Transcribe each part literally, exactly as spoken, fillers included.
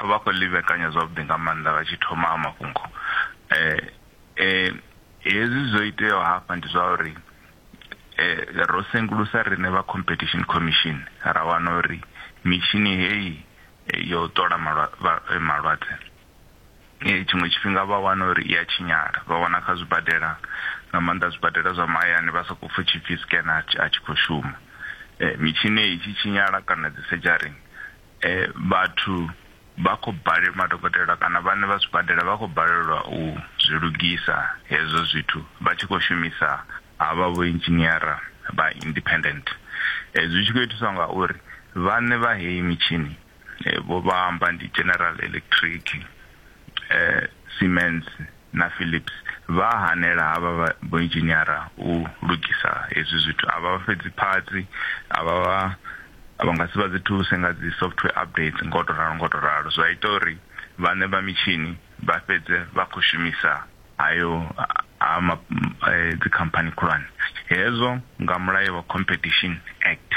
Vha khou ḽi vhekanya zwavhuḓi nga maanḓa vha tshi thoma a mafhungo. eh eh Hezwi zwo iteaho hafha ndi zwa uri eh ro sengulusa riṋe vha Competition Commission, ra wana uri mitshini heyi yo ṱola malwadze tshiṅwe tshifhinga vha wana uri i a tshinyala. Vha wana kha zwibadela, nga maanḓa zwibadela zwa mahayani, vha sokou pfha tshipfi scanner a tshi khou shuma. Mitshini i tshi tshinyala kana dzi sedzhari, vhathu vha khou balelwa, madokotela kana vhaṋe vha zwibadela vha khou balelwa u zwi lugisa hezwo zwithu vha tshi khou shumisa havha vho engineer vha independent. Zwi tshi khou itiswa nga uri vhaṋe vha heyi mitshini vho vha amba ndi General Electric, Siemens na Philips, vha hanela havha vho engineer u lugisa hezwi zwithu. A vha fhedzi parts, a vha vha nga si vha dzi thuse nga dzi software updates, ngo to ralo ngo to ralo. Zwa ita uri vhaṋe vha mitshini vha fhedze vha khou shumisa hayo a dzi khamphani khulwane. Hezwo nga mulayo wa Competition Act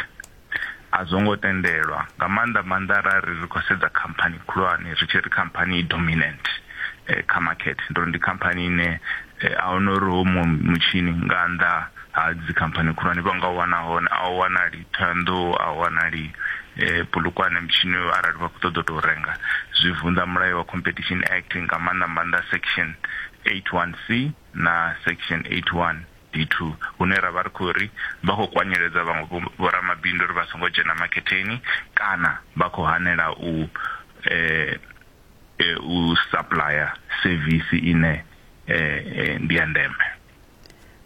a zwo ngo tendelwa, nga maanḓa maanḓa arali ri khou sedza khamphani khulwane, ri tshi ri khamphani i dominant kha market, ndi uri ndi khamphani ine a huna uri ho mutshini nga nnḓa ha dzi khamphani khulwane vha nga wana hone, a u wanali Thohoyandou, a u wanali Polokwane mutshini arali vha khou ṱoḓa u tou renga. Zwi vunḓa mulayo wa Competition Act, nga maanḓa maanḓa section eighty one C na section eighty one D two, hune ra vha ri khou ri vha khou kwanyeledza vhaṅwe vhoramabindu uri vha songo dzhena maketeni, kana vha khou hanela u eh, u supplier service ine eh, ndi ya ndeme.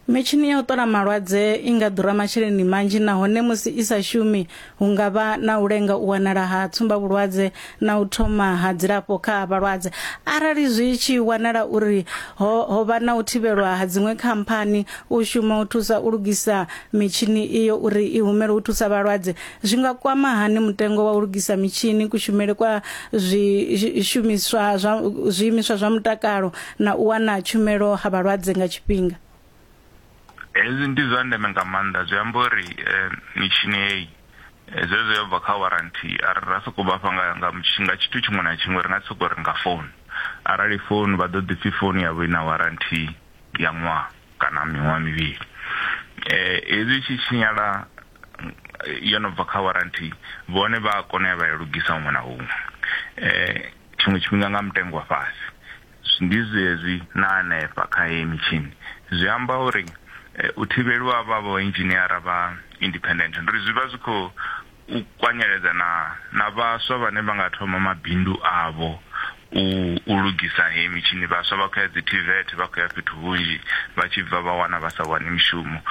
Mitshini ya u ṱola malwadze i nga ḓura masheleni manzhi, nahone musi i sa shumi hu nga vha na u lenga u wanala ha tsumbavhulwadze na u thoma ha dzilafho kha vhalwadze. Arali zwi tshi wanala uri ho, ho vha na u thivhelwa ha dziṅwe khamphani u shuma u thusa u lugisa mitshini iyo uri i humele u thusa vhalwadze, zwi nga kwama hani mutengo wa u lugisa mitshini, kushumele kwa zwishumiswa zwa zwiimiswa zwa mutakalo na u wana tshumelo ha vhalwadze nga tshifhinga? Hezwi ndi zwa ndeme nga maanḓa. Zwi amba uri mitshini heyi zwezwo yo bva kha warranty, arali ra sokou vhafha nga nga nga tshithu tshiṅwe na tshiṅwe, ri nga sokou ri nga phone, arali phone vha ḓo ḓi pfhi phone yavho ina warranty ya ṅwaha kana miṅwaha mivhili. Hezwi tshi tshinyala yo no bva kha warranty, vhone vha kona ya vha ya lugisa huṅwe na huṅwe, tshiṅwe tshifhinga nga mutengo wa fhasi. Ndi zwezwi na hanefha kha heyi mitshini, zwi amba uri u thivheliwa vha vho engineer vha independent ndi zwi vha zwi khou u kwanyeledza na na vhaswa vhane vha nga thoma mabindu avho u u lugisa heyi mitshini. Vhaswa vha khou ya dzi T V E T, vha khou ya fhethu hunzhi, vha tshi bva vha wana vha sa wani mishumo,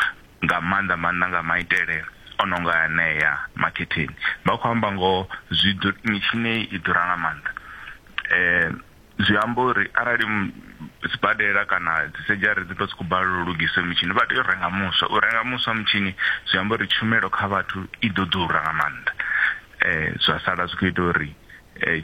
nga maanḓa maanḓa nga maitele o no nga anea maketeni. Vha khou amba ngo zwi mitshini i ḓura nga maanḓa. Eh zwi amba uri arali sibadela kana dzi sedzhari dzi ḓo sokou balelwa u lugisa mitshini, vha tea u renga muswa. U renga muswa mutshini zwi amba uri tshumelo kha vhathu i ḓo ḓura nga maanḓa, eh zwa sala zwi khou ita uri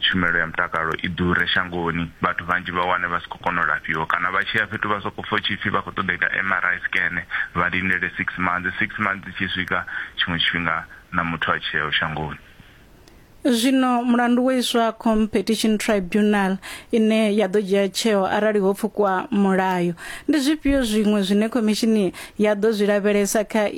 tshumelo ya mutakalo i ḓure shangoni, vhathu vhanzhi vha wane vha si khou kona u lafhiwa, kana vha tshi ya fhethu vha sokou pfha tshipfi vha khou ṱoḓa ita M R I scan, vha lindele six months, six months tshi swika tshiṅwe tshifhinga na muthu a tshiyaho shangoni. Zwino mulandu wo iswa Competition Tribunal ine ya ḓo dzhia tsheo arali ho pfukwa mulayo. Ndi zwifhio zwiṅwe zwine khomishini ya ḓo zwi lavhelesa kha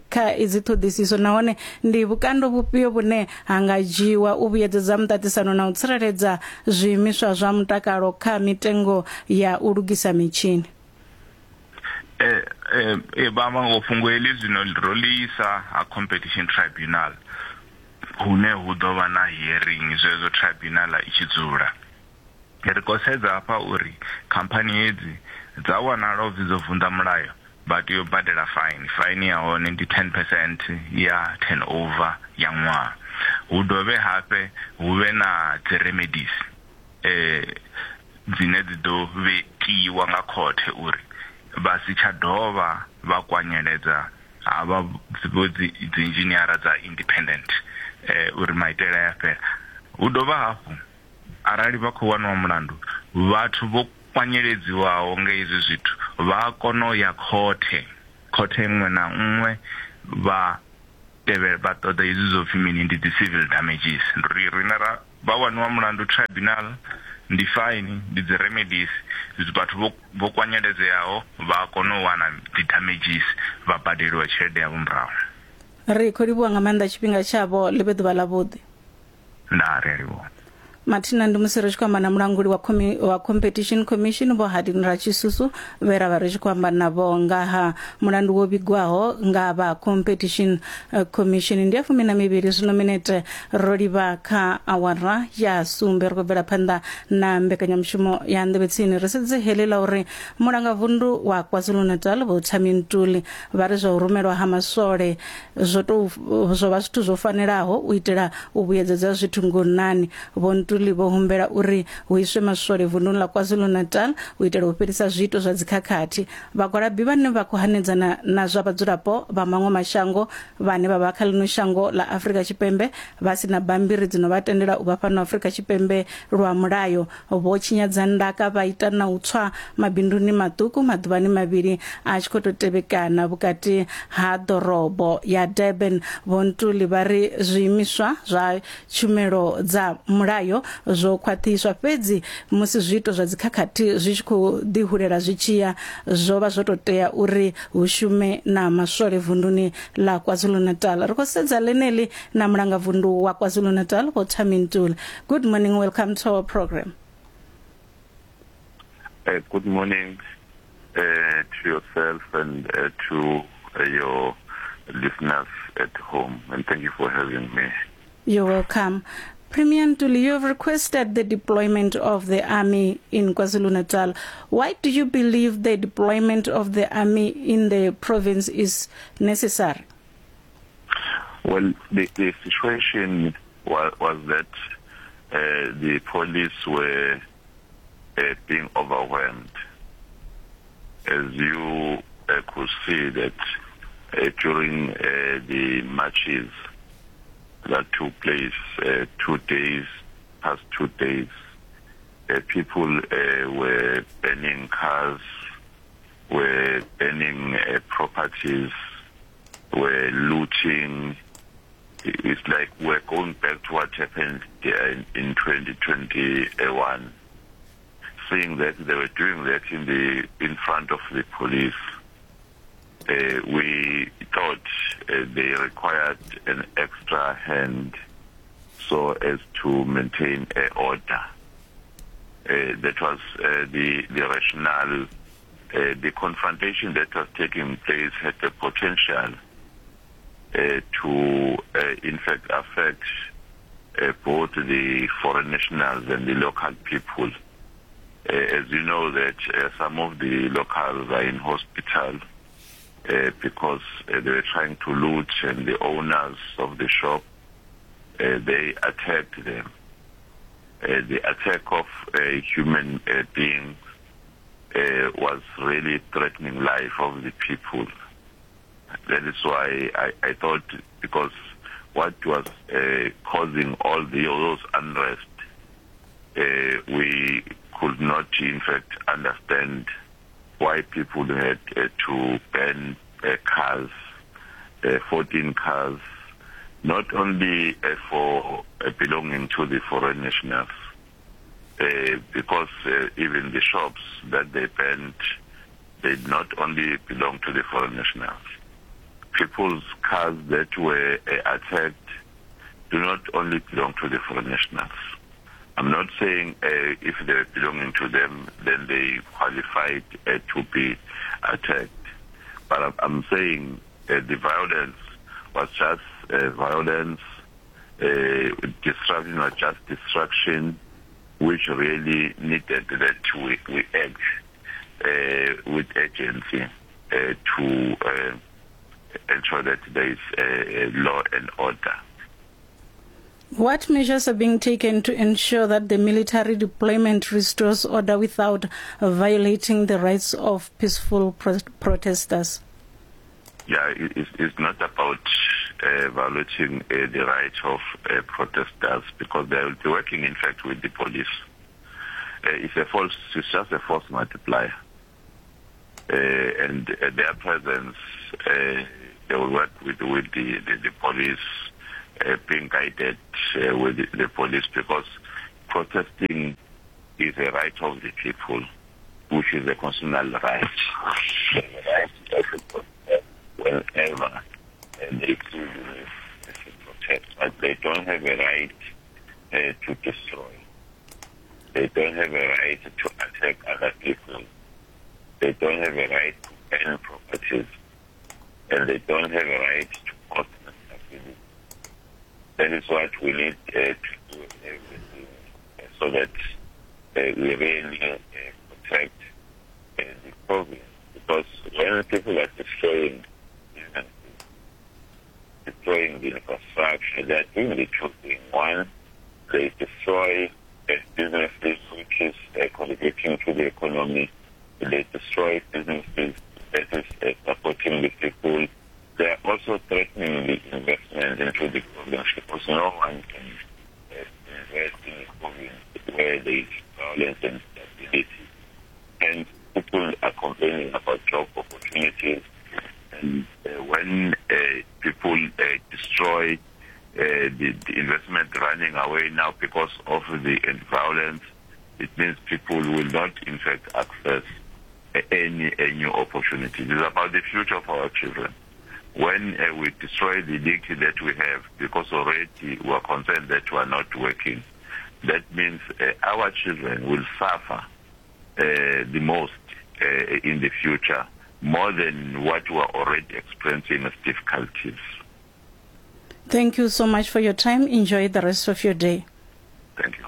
kha idzi ṱhoḓisiso, nahone ndi vhukando vhufhio vhune ha nga dzhiwa u vhuyedzedza muṱaṱisano na u tsireledza zwiimiswa zwa mutakalo kha mitengo ya u lugisa mitshini? Eh eh vha amba ngo fhungo heḽi zwino ro ḽi isa ha Competition Tribunal, hune hu ḓo vha na hearing zwezwo tribunal i tshi dzula. Ri khou sedza hafha uri khamphani hedzi dza wanala upfhi dzo vunḓa mulayo, vha tea u badela fine. Fine ya hone ndi ten percent ya turnover ya ṅwaha. Hu dovhe hafhe hu vhe na dzi remedies eh dzine dzi ḓo vhetiwa nga khothe uri vha si tsha dovha vha kwanyeledza havha dzi dzi engineer dza independent, eh uri maitele ya fhela. Hu dovha hafhu arali vha khou wanwa mulandu, vhathu vho kwanyeledziwaho nga izwi zwithu vha kona u ya khothe, khothe iṅwe na nngwe vha tevhe vha ṱoḓa izwi zwo pfhi mini, ndi dzi civil damages. Ndi ri rina ra vha waniwa mulandu tribunal ndi fine, ndi dzi remedies, vhathu vho vho kwanyeledzeaho vha kona u wana dzi damages vha badeliwa tshelede yavho murahu. Ri khou livhuwa nga maanḓa tshifhinga tshavho, ḽi vhe ḓuvha ḽavhuḓi. Ndaa, ri a livhuwa. Mathina ndi musi ri tshi khou amba na mulanguli wa, Comi wa Competition Commission Vho Hardin Ratshisusu, vhe ra vha ri tshi khou amba navho nga ha mulandu wo vhigwaho nga vha Competition Commission. Ndi ya fumi na mivhili zwino minete ro livha kha awara ya sumbe. Ri khou bvela phanḓa na mbekanyamushumo ya Nḓevhe Tsini. Ri sedze heḽi ḽa uri mulangavundu wa KwaZulu-Natal Vho Thami Ntuli vha ri zwa u rumelwa ha maswole zwo tou zwo vha zwithu zwo fanelaho u itela u vhuyedzedza zwithu ngonani. Vho Ntuli vho humbela uri hu iswe maswole vunduni ḽa KwaZulu-Natal u itela u fhelisa zwiito zwa dzikhakhathi. Vhagwalabi vhane vha khou hanedzana na zwa vhadzulapo vha maṅwe mashango vhane vha vha kha ḽino shango ḽa Afrika Tshipembe vha si na bammbiri dzino vha tendela u vha fhano Afrika Tshipembe lwa mulayo vho tshinyadza ndaka vha ita na u tswa mabinduni maṱuku maḓuvhani mavhili a tshi khou tou tevhekana vhukati ha ḓorobo ya Durban. Vho Ntuli vha ri zwiimiswa zwa tshumelo dza mulayo zwo khwaṱhiswa, fhedzi musi zwiito zwa dzikhakhathi zwi tshi khou ḓi hulela zwi tshiya zwo vha zwo tou tea uri hu shume na maswole vunduni ḽa KwaZulu-Natal. Ri khou sedza ḽeneḽi na mulangavundu wa KwaZulu-Natal Vho Thami Ntuli. Good morning, welcome to our program. Uh, good morning uh, to yourself and uh, to uh, your listeners at home, and thank you for having me. You're welcome. Premier Ntuli, you have requested the deployment of the army in KwaZulu-Natal. Why do you believe the deployment of the army in the province is necessary? Well, the, the situation was, was that uh, the police were uh, being overwhelmed. As you uh, could see that uh, during uh, the marches that took place uh, two days, past two days, uh, people uh, were burning cars, were burning uh, properties, were looting. It's like we're going back to what happened in, in twenty twenty-one, seeing that they were doing that in the in front of the police. Uh, we thought uh, they required an extra hand so as to maintain uh, order. Uh, that was uh, the, the rationale. Uh, the confrontation that was taking place had the potential uh, to, uh, in fact, affect uh, both the foreign nationals and the local people. Uh, as you know that uh, some of the locals are in hospital Uh, because uh, they were trying to loot, and the owners of the shop, uh, they attacked them. Uh, the attack of a human uh, being uh, was really threatening life of the people. That is why I, I thought, because what was uh, causing all the all those unrest, uh, we could not in fact understand why people had uh, to burn uh, cars, uh, fourteen cars, not only uh, for uh, belonging to the foreign nationals, uh, because uh, even the shops that they burned, they not only belong to the foreign nationals. People's cars that were uh, attacked do not only belong to the foreign nationals. I'm not saying uh, if they're belonging to them, then they qualified uh, to be attacked. But I'm saying uh, the violence was just uh, violence, uh, destruction was just destruction, which really needed that we, we act uh, with urgency uh, to uh, ensure that there is uh, law and order. What measures are being taken to ensure that the military deployment restores order without violating the rights of peaceful pro- protesters? Yeah, it, it's not about uh, violating uh, the rights of uh, protesters, because they will be working, in fact, with the police. Uh, it's a false, it's just a force multiplier. Uh, and uh, their presence, uh, they will work with, with the, the, the police. uh, being guided uh, with the, the police, because protesting is a right of the people, which is a constitutional right. The right to protest whenever uh, they feel the need to protest, but they don't have a right uh, to destroy. They don't have a right to attack other people. They don't have a right to burn properties, and they don't have a right to cause instability. That is what we need uh, to do everything, uh, so that uh, we really uh, protect uh, the province. Because when people are destroying businesses, destroying the infrastructure, they are doing the two things. One, they destroy uh, businesses which is uh, contributing to the economy. They destroy businesses that is uh, supporting the people. They are also threatening the investment into the province, because no one can uh, invest in the province where there is violence and instability. And people are complaining about job opportunities. And uh, when uh, people uh, destroy uh, the, the investment running away now because of the violence, it means people will not, in fact, access any, any new opportunity. It is about the future of our children. When uh, we destroy the dignity that we have, because already we are concerned that we are not working, that means uh, our children will suffer uh, the most uh, in the future, more than what we are already experiencing as difficulties. Thank you so much for your time. Enjoy the rest of your day. Thank you.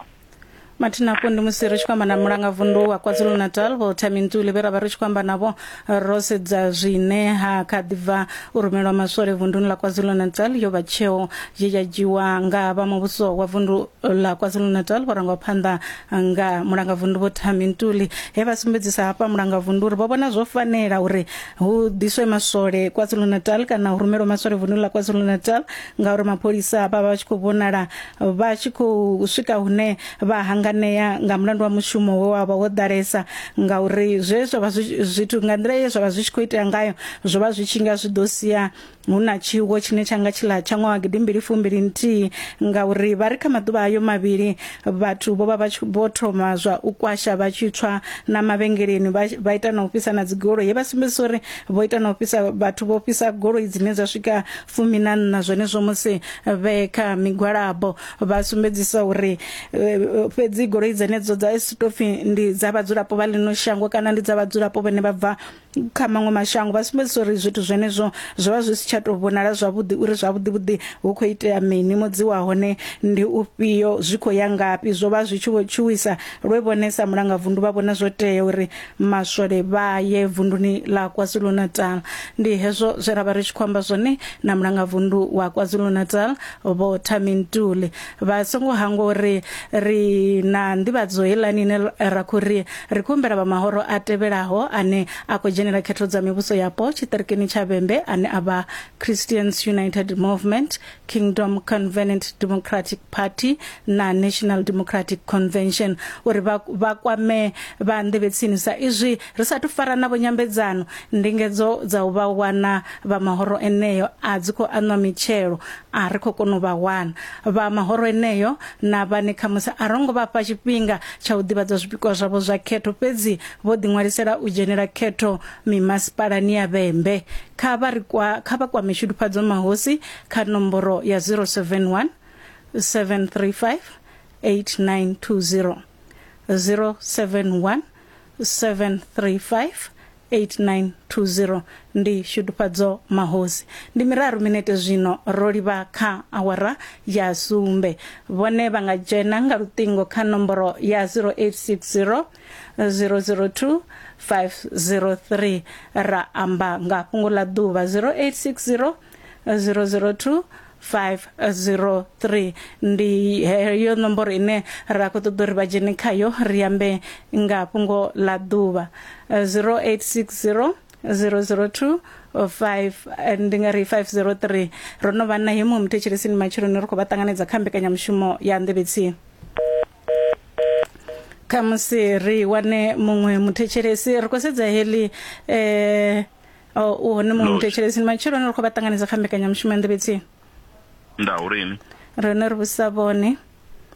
Mathina hafho ndi musi ri tshi khou amba na mulangavundu wa KwaZulu-Natal Vho Thami Ntuli, vhe ra vha ri tshi khou amba navho ro sedza zwine ha kha ḓi bva u rumelwa maswole vunduni ḽa KwaZulu-Natal. Yo vha tsheo ye ya dzhiwa nga vha muvhuso wa vundu ḽa KwaZulu-Natal vho rangwa phanḓa nga mulangavundu Vho Thami Ntuli, he vha sumbedzisa hafha mulangavundu uri vho vhona zwo fanela uri hu ḓiswe maswole KwaZulu-Natal kana hu rumelwe maswole vunduni ḽa KwaZulu-Natal, ngauri mapholisa vha vha tshi khou vhonala vha tshi khou swika hune vha hanga nea nga mulandu wa mushumo we wa vha wo ḓalesa, ngauri zwe zwa vha zwithu nga nḓila ye zwa vha zwi tshi khou itea ngayo zwo vha zwi tshi nga zwi ḓo sia hu na tshiwo tshine tsha nga tshiḽa tsha ṅwaha gidi mbili fumbili nthihi, ngauri vha ri kha maḓuvha ayo mavhili vhathu vho vha vha vho thoma zwa u kwasha vha tshi tswa na mavhengeleni, vha ita na u fhisa na dzigoloi. Ye vha sumbedzisa uri vho ita na u fhisa vhathu vho fhisa goloi dzine dza swika fumi na nṋa zwenezwo musi vhe kha migwalabo. Vha sumbedzisa uri fhedzi goloi dzenedzo dza stopfi ndi dza vhadzulapo vha ḽino shango kana ndi dza vhadzulapo vhane vha bva kha maṅwe mashango. Vha sumbedzisa uri zwithu zwenezwo zwo vha zwi si tsha tou vhonala zwavhuḓi uri zwavhuḓi vhuḓi hu khou itea mini, mudzi wa hone ndi ufhio, zwi khou ya ngafhi. Zwo vha zwi tshi vho tshuwisa lwe vhone sa mulangavundu vha vhona zwo tea uri maswole vha ye vunduni ḽa KwaZulu-Natal. Ndi hezwo zwe ra vha ri tshi khou amba zwone na mulangavundu wa KwaZulu-Natal Vho Thami Ntuli. Vha songo hangwa uri ri na nḓivhadzo heiḽani ine ra khou ri ri khou humbela vha mahoro a tevhelaho ane a khou dzhenela khetho dza mivhuso yapo tshiṱirikini tsha Vhembe, ane a vha Christians United Movement, Kingdom Covenant Democratic Party na National Democratic Convention, uri vha kwame vha nḓevhe sa izwi ri sathu fara navho nyambedzano. Ndingedzo dza u vha wana vha mahoro eneyo a dzi khou anwa mitshelo, a ri khou kona u vha wana vha mahoro eneyo na vhane khamusi a rongo vha fha tshifhinga tsha u ḓivhadza zwipikwa zwavho zwa khetho, fhedzi vho ḓiṅwalisela u dzhenela khetho mimasipalani ya Vhembe. Kha vha ri kwa kha vha kwame Shudufhadzo Mahosi kha nomboro ya zero seven one seven three five eight nine two zero, zero seven one seven three five eight nine two zero. Ndi Shudufhadzo Mahosi. Ndi miraru minete zwino ro livha kha awara ya sumbe. Vhone vha nga dzhena nga luṱingo kha nomboro ya zero eight six zero zero zero two five zero three ra amba nga fhungo ḽa ḓuvha zero eight six zero zero zero two five zero three. Ndi heyo nomboro ine ra khou ṱoḓa uri vha dzhene khayo ri ambe nga fhungo ḽa ḓuvha zero eight six zero zero zero two five ndi nga ri five zero three. Ro no vha na hemo muthetshelesini matsheloni ri khou vha ṱanganedza kha mbekanyamushumo ya Nḓevhe. Khamusi ri wane muṅwe muthetshelesi ri khou sedza heḽi eh u hone muṅwe muthetshelesini matsheloni ri khou vha ṱanganedza kha mbekanyamushumo ya Nḓevhe. Nda urini Rone ri vhusa vhone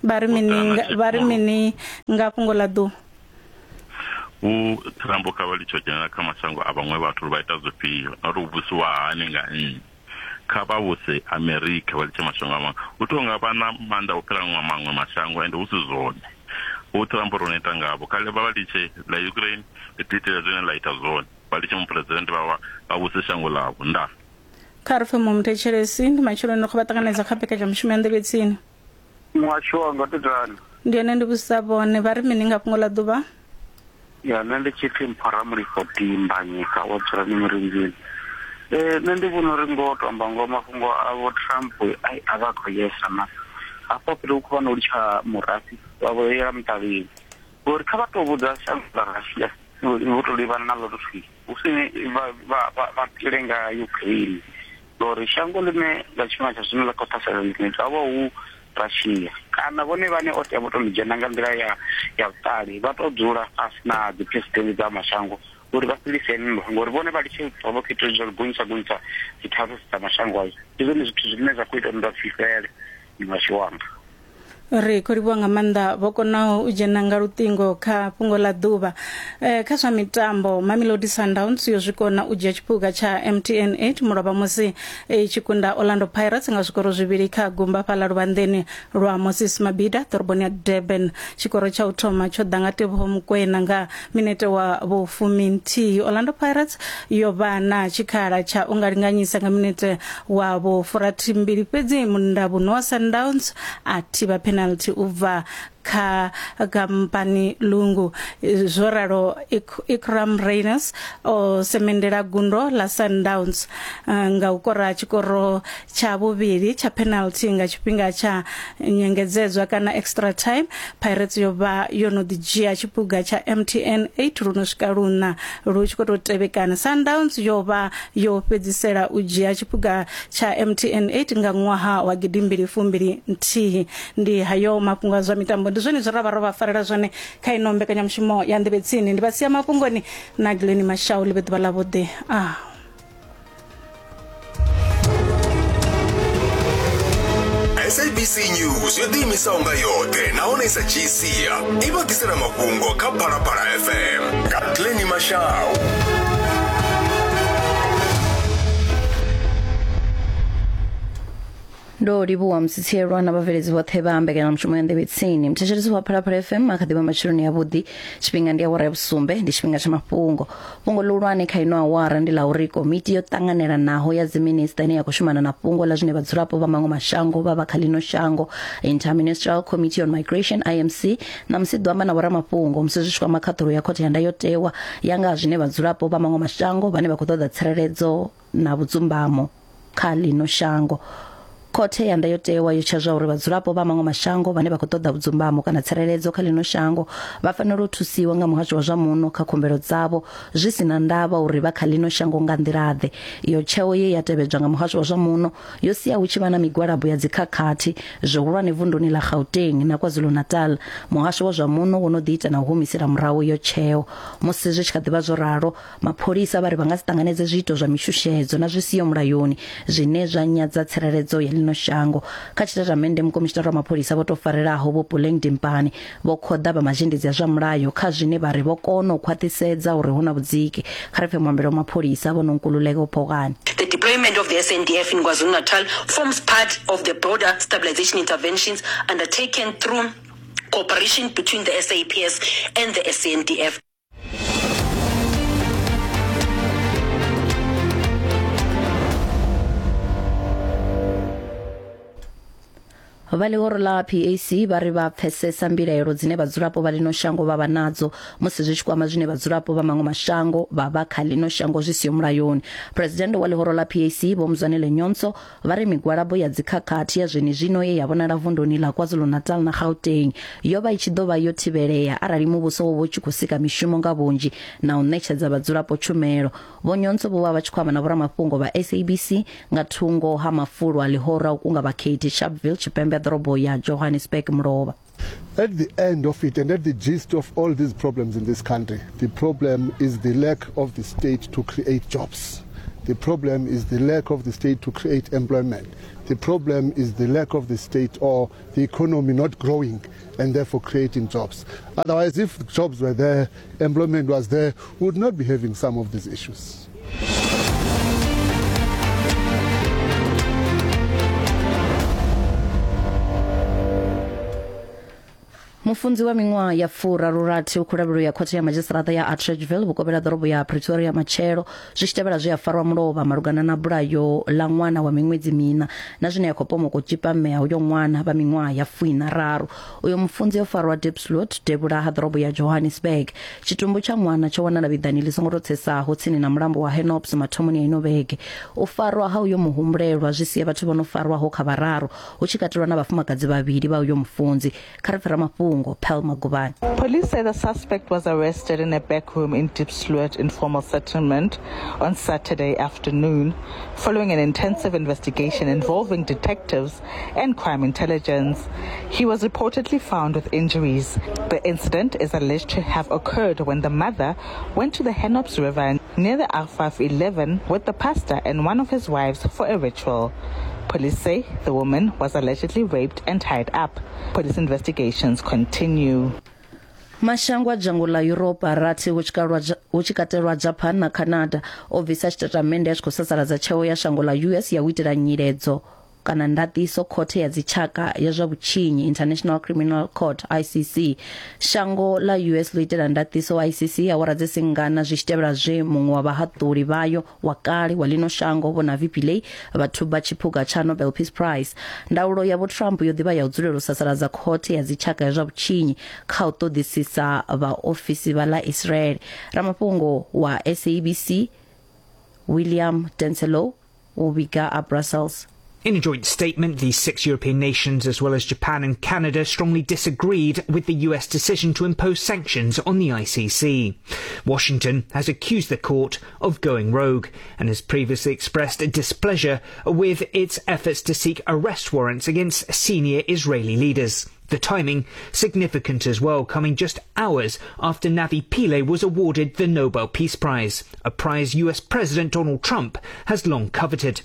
vha ri mini vha ri mini nga fhungo ḽa ḓuvha? U Trump kha vha litsho dzhena kha mashango a vhaṅwe vhathu vha ita zwifhio na uri u vhusiwa hani nga nnyi. Kha vha vhuse Amerika vha litshe mashango a maṅwe. U tou nga vha na maanḓa u fhira maṅwe mashango ende hu si zwone. U Trump ro neta ngavho kha vha litshe ḽa Ukraine ḽi ḓi itela zwine ḽa ita zwone, vha litshe muphuresidennde vha vha vhuse shango ḽavho. Nda kha ri pfe muthetshelesi ndi matsheloni kho vha ṱanganedza kha mbekanyamushumo ya Nḓevhe Tsini. Muhasho wanga totani ndi ene ndi vhusa vhone vha ri mini nga fhungo ḽa ḓuvha? Ya nṋe ndi tshi pfi Mphoramulifho Dimbanyika wa dzulani Mirinzini. Eh nṋe ndi vhona uri ngo to amba ngo mafhungo a vho Trump ai a vha khou yesa na hafho fhethu hu khou vha no litsha murafhi wa vho yela muṱavhini, ngori kha vha to vhudza shango ḽa Russia vho to livhana na ḽo thwi hu si vha vha vha pile nga Ukraine, ngori shango ḽine nga tshifhinga tsha zwino ḽa khou ṱhasela ḽine ha vha hu Russia kana vhone vhane o tea vho to ḽi dzhena nga nḓila ya ya vhuṱali, vha to dzula fhasi na dzi president dza mashango uri vha fhelise nndwa, ngori vhone vha litshe vha khou ita zwa gonyisa gonyisa dzi tariffs dza mashango ayo. Ndi zwone zwithu zwine zwa khou ita nndwa dzi fhele muhasho wanga. Ri khou livhuwa nga maanḓa vho konaho u dzhena nga luṱingo kha fhungo ḽa ḓuvha. E, kha zwa mitambo Mamelodi Sundowns yo zwi kona u dzhia tshiphuga tsha M T N eight mulovha musi e tshi kunda Orlando Pirates nga zwikoro zwivhili kha gumba fhaḽa luvhanḓeni lwa Moses Mabhida ḓoroboni ya Durban. Tshikoro tsha u thoma tsho ḓa nga Teboho Mokoena nga minete wa vhufuminthihi. Orlando Pirates yo vha na tshikhala tsha u nga linganyisa nga minete wa vhufurathimbili, fhedzi mundavhuno wa Sundowns a thivha penalty u bva kha Kampani Lungu. Zwo ralo Ikram Reyners o semendela gundo la Sundowns nga u kora tshikoro tsha vhuvhili tsha penalty nga tshifhinga tsha nyengedzedzwa kana extra time. Pirates yo vha yo no ḓi dzhia tshiphuga tsha M T N eight luno swika luṋa lu tshi khou tou tevhekana. Sundowns yo vha yo fhedzisela u dzhia tshiphuga tsha M T N eight nga ṅwaha wa gidimbili fumbili nthihi. Ndi hayo mafhungo a zwa mitambo, ndi zwone zwe ra vha ro vha farela zwone kha ino mbekanyamushumo ya Nḓevhe Tsini. Ndi vha sia mafhungoni na Glenn Mashau. Ḽi vhe ḓuvha ḽavhuḓi. Ah. S A B C News yo ḓiimisaho nga yoṱhe nahone sa dzhii sia i vha ḓisela mafhungo kha Phalaphala F M nga Glenn Mashau. Ndo livhuwa musitshelwa na vhabveledzi vhoṱhe vha mbekanyamushumo ya Nḓevhe Tsini. Muthetshelesi wa Phalaphala F M a kha ḓivha matsheloni avhuḓi. Tshifhinga ndi awara ya vhusumbe, ndi tshifhinga tsha mafhungo. Fhungo ḽihulwane kha ino awara ndi ḽa uri komiti yo ṱanganelanaho ya dziminista ine ya khou shumana na fhungo ḽa zwine vhadzulapo vha maṅwe mashango vha vha kha ḽino shango, Interministerial Committee on Migration I M C, na musi ḓo amba na vhoramafhungo musi zwi tshi kwama khaṱhulo ya khothe ya ndayotewa ya nga zwine vhadzulapo vha maṅwe mashango vhane vha khou ṱoḓa tsireledzo na vhudzumbamo kha ḽino shango. Khothe ya ndayotewa yo tsha zwa uri vhadzulapo vha maṅwe mashango vhane vha khou ṱoḓa vhudzumbamo kana tsireledzo kha ḽino shango vha fanela u thusiwa nga muhasho wa zwa muno kha khumbelo dzavho zwi si na ndavha uri vha kha ḽino shango nga nḓila-ḓe. Iyo tsheo ye ya tevhedzwa nga muhasho wa zwa muno yo sia hu tshi vha na migwalabo ya dzikhakhathi zwihulwane vunduni ḽa Gauteng na KwaZulu-Natal. Muhasho wa zwa muno wo no ḓi ita na u humisela murahu iyo tsheo. Musi zwi tshi kha ḓi vha zwo ralo, mapholisa vha ri vha nga si ṱanganedze zwiito zwa mishushedzo na zwi siho mulayoni zwine zwa nyadza tsireledzo ya ḽino shango. Kha tshitatamennde mukomishinara wa mapholisa vho tou farelaho Vho Puleng Dimpane vho khoḓa vha mazhendedzi a zwa mulayo kha zwine vha ri vho kona u khwaṱhisedza uri hu na vhudziki. Kha ri pfe muambeli wa mapholisa Vho Nonkululeko Phokane. The deployment of the S N D F in KwaZulu-Natal forms part of the broader stabilization interventions undertaken through cooperation between the S A P S and the S N D F. Vha ḽihoro ḽa P A C vha ri vha pfesesa mbilaelo dzine vhadzulapo vha ḽino shango vha vha nadzo musi zwi tshi kwama zwine vhadzulapo vha maṅwe mashango vha vha kha ḽino shango zwi siho mulayoni. President wa ḽihoro ḽa P A C Vho Mzwanele Nyhontso vha ri migwalabo ya dzikhakhathi ya zwenezwino ye ya vhonala vunduni ḽa KwaZulu-Natal na Gauteng yo vha i tshi ḓo vha yo thivhelea arali muvhuso wo vha u tshi khou sika mishumo nga vhunzhi na u ṋetshedza vhadzulapo tshumelo. Vho Nyhontso vho vha vha tshi khou amba na vhoramafhungo vha S A B C nga thungo ha mafulo a ḽihoro a u kunga vhakhethi Sharpeville Tshipembe ḓorobo ya Johannesburg mulovha. At the end of it and at the gist of all these problems in this country, the problem is the lack of the state to create jobs. The problem is the lack of the state to create employment. The problem is the lack of the state or the economy not growing and therefore creating jobs. Otherwise, if jobs were there, employment was there, we would not be having some of these issues. Mufunzi wa miṅwaha ya furaru-rathi u khou lavhelelwa ya khothe ya madzhisiṱiraṱa ya Atteridgeville vhukovhela ḓorobo ya Pretoria matshelo zwi tshi tevhela zwe a farwa mulovha malugana na bulayo ḽa ṅwana wa miṅwedzi miṋa na zwine ya khou pomoka u tzhipa mme a uyo ṅwana vha miṅwaha ya fuiṋa raru. Uyo mufunzi o farwa Diepsloot devhula ha ḓorobo ya Johannesburg. Tshitumbu tsha ṅwana tsho wanala vhiḓani ḽi songo tou tsesaho tsini na mulambo wa Henops mathomoni a ino vhege. U farwa ha uyo muhumbulelwa zwi sia vhathu vho no farwaho kha vhararu hu tshi katelwa na vhafumakadzi vhavhili vha uyo mufunzi. Kha ri pfe ramafhungo Police say the suspect was arrested in a back room in Diepsloot informal settlement on Saturday afternoon following an intensive investigation involving detectives and crime intelligence. He was reportedly found with injuries. The incident is alleged to have occurred when the mother went to the Henops River near the R five eleven with the pastor and one of his wives for a ritual. Police say the woman was allegedly raped and tied up. Police investigations continue. Mashango a dzhango ḽa Yuropa rathi hu tshi katelwa Japan na Canada o bvisa tshitatamennde a tshi khou sasaladza tsheo ya shango ḽa U S ya u itela nyiledzo kana ndaṱiso khothe ya dzitshaka ya zwa vhutshinyi International Criminal Court I C C. Shango ḽa U S ḽo itela ndaṱiso I C C awara dzi singana zwi tshi tevhela zwe muṅwe wa vhahaṱuli vhayo wa kale wa ḽino shango Vho Navi Pillay vha thuba tshiphuga tsha Nobel Peace Prize. Ndaulo ya Vho Trump yo ḓivha ya u dzulela u sasaladza khothe ya dzitshaka ya zwa vhutshinyi kha u ṱoḓisisa vhaofisi vha ḽa Israel. Ramafhungo wa S A B C William Denselo o vhiga a Brussels. In a joint statement, the six European nations, as well as Japan and Canada, strongly disagreed with the U S decision to impose sanctions on the I C C. Washington has accused the court of going rogue and has previously expressed displeasure with its efforts to seek arrest warrants against senior Israeli leaders. The timing significant as well, coming just hours after Navi Pillay was awarded the Nobel Peace Prize, a prize U S President Donald Trump has long coveted.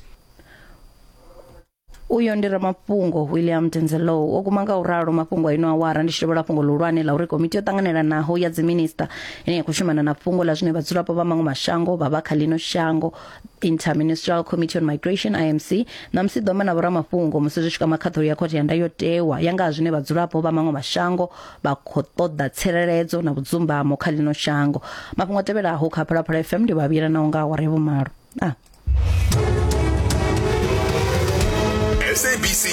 Uyo ndi ramafhungo William Denzelo o guma nga u ralo mafhungo ino awara ndi tshivhela fhungo ḽihulwane ḽa uri komiti yo ṱanganelanaho ya dziminista ine ya khou shumana na fhungo ḽa zwine vhadzulapo vha maṅwe mashango vha vha kha ḽino shango Interministerial Committee on Migration I M C na musi ḓo amba na vhoramafhungo musi zwi tshi kwama khaṱhulo ya khothe ya ndayotewa ya nga zwine vhadzulapo vha maṅwe mashango vha khou ṱoḓa tsireledzo na vhudzumbamo kha ḽino shango. Mafhungo a tevhelaho kha Phalaphala F M ndi vhavhila naho nga awara ya vhumalo. Ah. S A B C